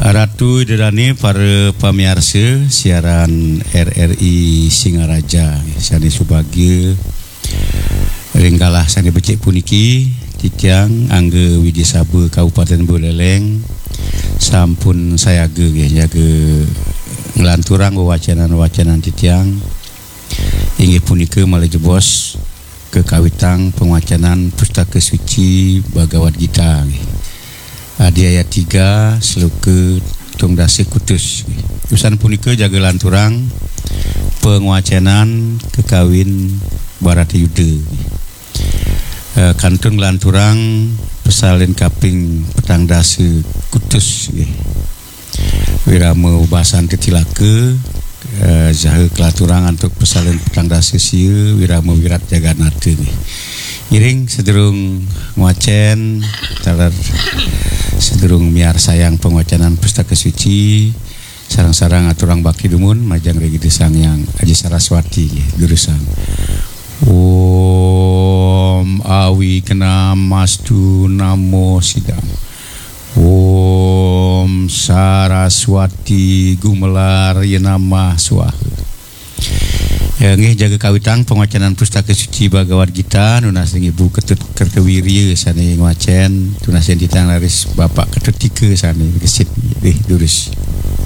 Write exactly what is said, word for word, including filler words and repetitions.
Ratu Ida Dané, para pamiarsa siaran R R I Singaraja sané subagia, ring galah sané becik puniki, titiang Angga Widya Saba Kabupaten Buleleng sampun sayaga nggih, nyaga nglanturang wewacénan-wewacénan titiang, inggih punika malih jebos kakawitang pangwacénan Pustaka Suci Bhagavad Gita nggih. Adi ayat tiga, sloka tungdasa kutus. Usan punika jaga lanturang pangwacénan kakawin Bharata Yuda. Eh, kantun lanturang pasalin kaping petang dasa kutus nggih. Wirama ubasan tetilaka, eh, saha kelaturang antuk pasalin petang dasa sia, wirama wirat jaganata nggih. Ngiring sadurung ngwacén, taler sadurung miarsayang pangwacénan Pustaka Suci, sareng-sareng aturang bakti dumun majeng ring Ida Sang Hyang Aji Saraswati nggih, durusang. Om Awignamastu Namo Sidam. Om Saraswati Gumelar Yenamah Swaha. Ya, nggih, jaga kawitang pangwacénan Pustaka Suci Bhagavad Gita, nunas ring Ibu Ketut Kertawirya sané ngwacén, tunas ring titiang raris Bapak Ketut Tika sané gesit nggih, durus.